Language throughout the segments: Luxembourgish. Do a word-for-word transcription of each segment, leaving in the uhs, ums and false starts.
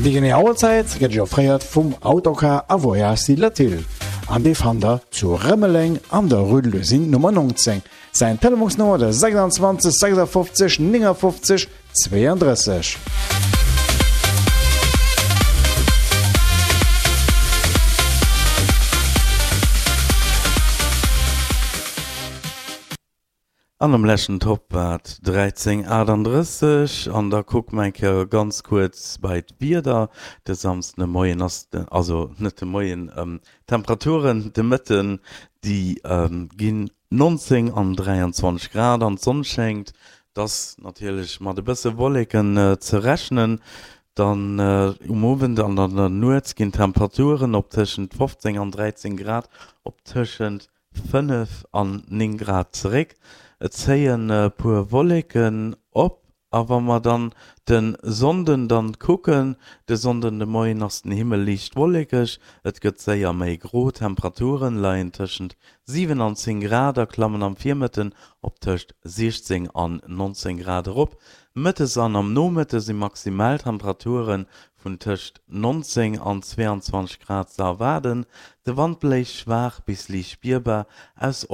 Déi genee Auerzäit gëtt Iech offréiert vum Autocar a Voyages Latil an dee fannt der zu Rëmeleng an der Rue de l'Usine Nummer neunzéng. Säin Telefonsnummer der sechsundzwanzeg sechsundfünfzig neunundfünfzig zweiunddrësseg. An am leschten Top war et dräizéng achtundrësseg an da kucke mer eng Kéier ganz kuerz bei d'Wieder. De Samsden de Moien ass de, also net de Moien, d'Temperaturen de Mëtten, déi ginn nonzéng an dräianzwanzeg Grad an d'Sonn schéngt. Et ass natierlech mat e bësse Wolleken ze rechnen. Dann um Owend an an der Nuet ginn d'Temperaturen op tëschent fofzéng an dräizéng Grad op tëschent fënnef an néng Grad zeréck. Et zéien e puer Wolleken op a wa mer dann de Sonnden dann kucken, de Sonnden de Moien ass den Himmel liicht wollekeg, et gëtt séier méi gro, d'Temperaturen leien tëschent siwen an zéng Grad a klammen am Virmëtten op tëscht siechzéng an nonzéng Grad erop. Mëttes an am Nomëtte si Maximaltemperature vun tëscht nonzéng an zweeanzwanzeg Grad ze erwaarden. De Wand bléist schwaach bis liicht spierbar aus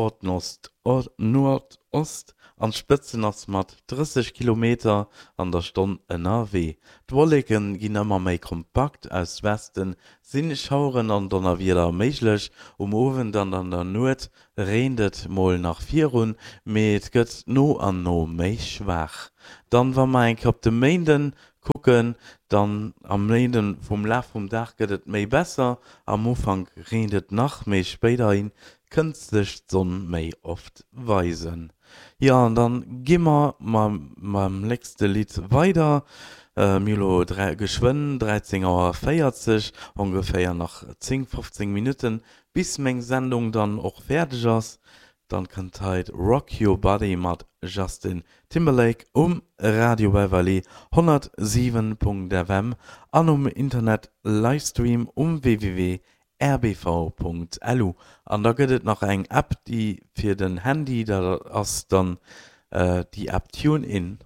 Nordost an d'Spëtzen ass mat drësseg Kilometer an der Stonn ënnerwee. D'Wolleke ginn ëmmer méi kompakt, aus Weste si Schaueren an Donnerwieder méiglech. Um Owend an an der Nuet reent et mol nach virun, mee et gëtt no an no méi schwaach. Dann, wa mer eng Kéier op de Méinden kucken, dann am Méinden vum Laf vum Dag gëtt et méi besser, am Ufank reent et nach, mee spéiderhi kënnt sech d'Sonn méi oft weisen. Jo, an dann gi mer mam nächste Lidd weider. Mir hu lo geschwënn dräizéng Auer véierzeg, ongeféier nach zéng, fofzéng Minutten, bis meng Sendung dann och fäerdeg ass. Dann kënnt hei Rock Your Body mat Justin Timberlake um Radio Beverly honnertsiwen Punkt F M an um Internet Livestream um W W W R B V Punkt L U. An da gëtt et nach eng App, déi fir den Handy, dat ass dann déi App TuneIn.